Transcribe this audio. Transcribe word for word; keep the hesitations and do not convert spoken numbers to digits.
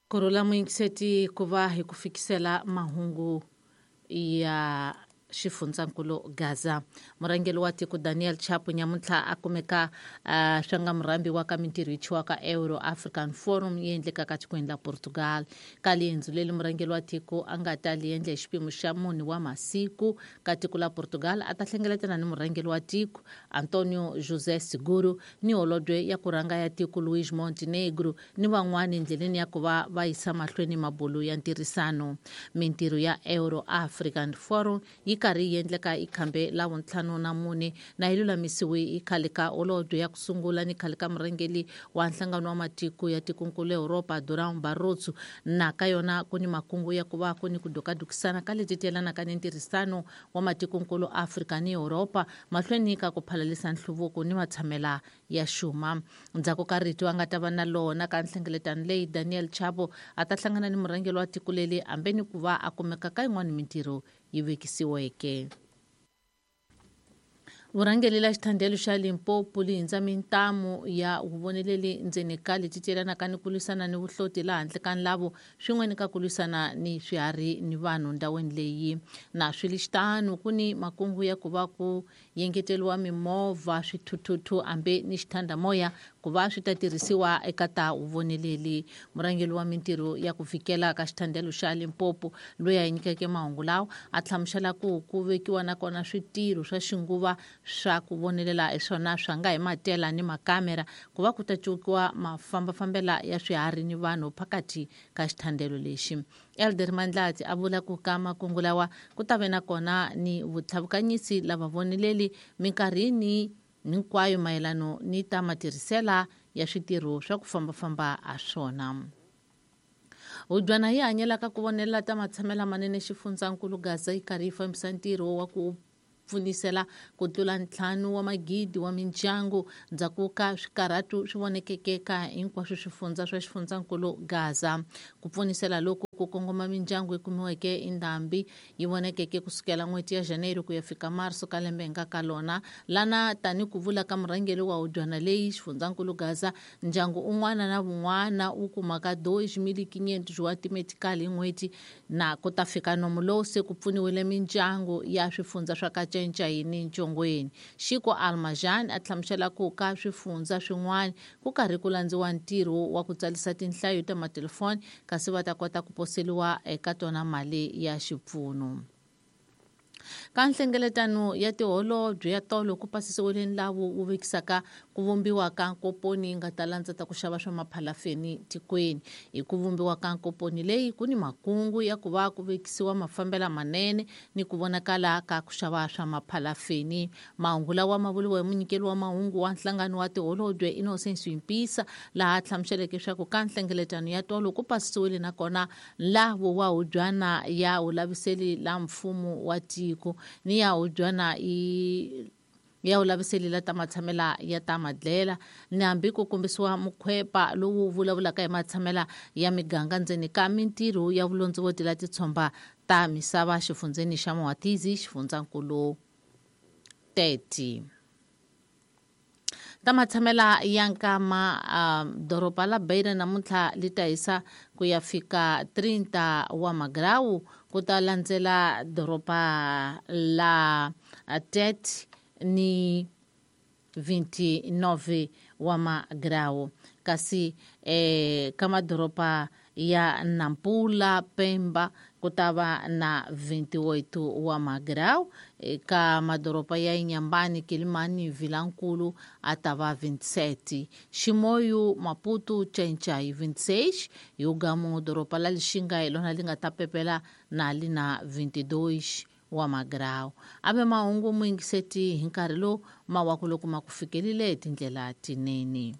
Kurhula muyingiseti ku va hi ku fikisela mahungu ya xifundzankulu Gaza. Murhangeri wa tiko Daniel Chapo nyamuntlha a kumeka uh, swa nga murhambi wa ka mintirho yi chiwaka Euro African Forum yi endlekaka tikweni la Portugal. Ka liendzo leri murhangeri wa tiko a nga ta li endla hi xiphemu xa mune wa masiku ka tiko la Portugal a ta hlengeletana ni murhangeri wa tiko Antonio José Seguro ni holobye ya ku rhanga ya tiko Luís Montenegro ni van'wani endleleni ya ku va va yisa mahlweni mabulu ya ntirhisano. Mintirho ya Euro African Forum yi karhi yi endleka i khambe la vuntlhanu na mune na yi lulamisiwe i khale ka holobye ya ku sungula ni khale ka murhangeri wa nhlangano wa matiko ya tikonkulu Europa Durão Barroso. Na ka yona ku ni makungu ya ku va ku ni ku dukadukisana ka leti tiyelanaka ni ntirhisano wa matikonkulu Afrika ni Europa mahlweni ka ku phalalisa nhluvuko ni matshamela ya xuma. Ndzhaku ka rito a nga ta va na lona ka nhlengeletano leyi Daniel Chapo a ta hlangana ni murhangeri wa tiko leri hambi ni ku va a kumeka ka yin'wana mintirho yi vekisiweke. Vurhangeri la xithandelo xa Limpopo li hindza mintamu ya vuvoneleli ndzeni ka leti tiyelanaka ni ku lwisana ni vuhloti laha handle ka nlavo swin'we ni ka ku lwisana ni swiharhi ni vanhu ndhawini leyi. Na swi li xitano ku ni makungu ya ku va ku yengeteriwa mimovha swithuthuthu hambi ni xithandamoya ku va swi ta tirhisiwa eka ta vuvoneleli. Murhangeri wa mintirho ya ku fikela ka xithandelo xa Limpopo loyi a nyikeke mahungu lawa a hlamusela ku ku vekiwa nakona switirho swa xinguva swa ku vonelela hi swona swa nga hi matela ni makamera ku va ku ta cukiwa mafambafambela ya swiharhi ni vanhu phakathi ka xithandelo lexi. Elder Mandlati a vula ku ka makungu lawa ku ta ve nakona ni vutlhavukanyisi lava voneleli minkarhini hinkwayo mayelano ni ta matirhisela ya switirho swa ku fambafamba ha swona. Hudyana yi hanyelaka ku vonelela ta matshamela manene xifundzankulu Gaza yi karhi yi fambisa ntirho wa ku pfunisela ku tlula ntlhanu wa magidi wa mindyangu ndzhaku ka swikarhatu swi vonekeke ka hinkwaswo swifundza swa xifundzankulu Gaza. Ku pfunisela loku ku kongoma mindyangu yi kumiweke i ndhambi yi vonekeke kusukela n'hweti ya Janeiro ku ya fika Marso ka lembe hi nga ka lona. Lana tani ku vula ka murhangeri wa hudyana leyi xifundzankulu Gaza ndyangu un'wana na wun'wana wu kumaka dois mil quinhentos wa timetikali hi n'hweti na ku ta fika nomu lowu se ku pfuniwile mindyangu ya swifundza swa ka Ncayini Ntshongweni. Xiko Almajan a hlamusela ku ka swifundza swin'wana ku karhi ku landziwa ntirho wa ku tsarisa tinhlayo ta matelefoni kasi va ta kota ku poseliwa eka tona mali ya xipfuno. Ka nhlengeletano ya tiholobye ya tolo ku pasisiwile nlawu wu vekisaka ku vumbiwa ka nkoponi yi nga ta landza ta ku xava swa maphalafeni tikweni. Hi ku vumbiwa ka nkoponi leyi ku ni makungu ya ku va ku vekisiwa mafambela manene ni ku vonakala ka ku xava swa maphalafeni. Mahungu lawa ma vuriwa hi munyikeli wa mahungu wa nhlangano wa tiholobye Innocence Mpisa laha a hlamuseleke leswaku ka nhlengeletano ya tolo ku pasisiwile nakona nlawu wa hudyana ya vulaviseli la mfumo wa tiko ni ya hudyana i ya vulaviseli la ta matshamela ya ta madlela ni hambi ku kombisiwa mukhwepa lowu vulavulaka hi matshamela ya miganga ndzeni ka mintirho ya vulondzovoti la titshomba ta misava xifundzeni xa Moatizi xifundzankulu Tete. Ta matshamela ya nkama uh, doroba la Beira namuntlha li ta hisa ku ya fika trinta wa magrawu ku ta landzela doroba la Tete ni vinte e nove wa magrawu kasi eh, ka madoroba ya Nampula Pemba ku ta va na vinte e oito wa magrau ka madoroba ya Inhambane Quelimane Vilankulu a ta va vinte e sete Chimoio Maputo Tchanchai vinte e seis Yugamu doroba la Lixinga hi lona li nga ta pepela na li na vinte e dois wa magrau. Ave mahungu muyingiseti hi nkarhi lowu mawaku loko ma ku fikelile hi tindlela tinene.